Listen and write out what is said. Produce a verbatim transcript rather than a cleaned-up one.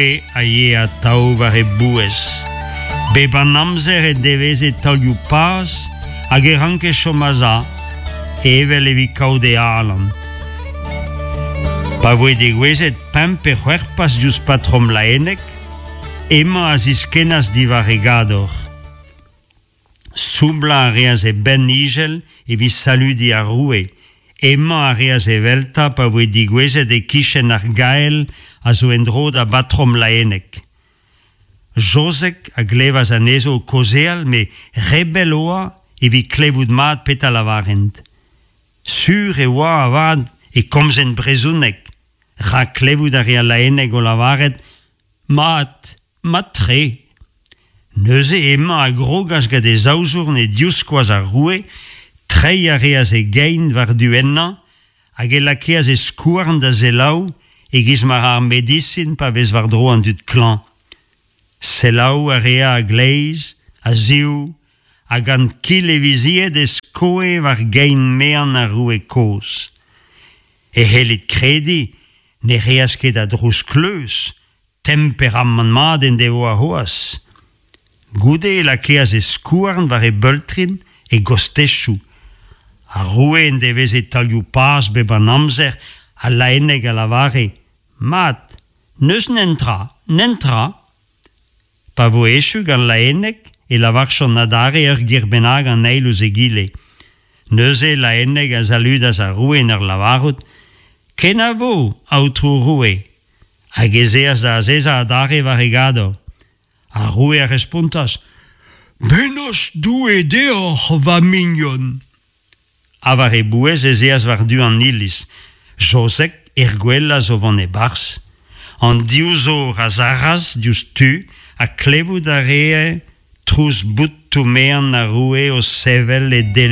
roue a yee atav war e bouez. Bep an amzer e deveze taolioù paz hag e ranke chom a-sav, evel evit kaout e alan. Pa voe degouezhet pemp pe c'hwec'h paz diouzh patrom Laenneg, hemañ a ziskennas diwar e gador. Soublañ a reas e benn ijel evit saludiñ ar roue. Hemañ a reas eveltañ pa voe degouezhet e-kichen ar gael a zo en-dro da batrom Laenneg. Jozeg a glevas anezho o kaozeal met re bell oa evit klevout mat petra lavarent. Sur e oa avat e komzent brezhoneg, rak klevout a rea Laenneg o lavaret mat, mat-tre. Neuze hemañ a grogas gant e zaouzourn e divskoaz ar roue, treiñ a reas e gein war-du ennañ hag e lakeas e skouarn da selaou e-giz ma ra ar medisin pa vez war-dro an dud klañv. Selaou a rea a-gleiz, a-zehou, ha gant kil e vizied e skoe war gein mean ar roue kozh. E c'hellit krediñ ne reas ket a drouz kleuz, temperamant mat en devoa c'hoazh. Goude e lakeas e skouarn war e beultrin, e gostezioù. Ar roue en deveze taolioù paz bep an amzer, ha Laenneg a lavare Mat, n'eus netra, netra. Pa voe echu gant Laenneg e lavarjont adarre ur ger bennak an eil ouzh egile. Neuze Laenneg a saludas ar roue en ur lavarout Kenavo, aotrou roue. Hag ez eas da azezañ adarre war e gador. Ar roue a respontas Bennozh Doue deoc'h, va mignon. Ha war e bouez ez eas war-du an iliz. Jozeg er gwelas o vont e-barzh. An div zor a sarras diouzhtu ha klevout a ree trouz botoù mean ar roue o sevel e dele.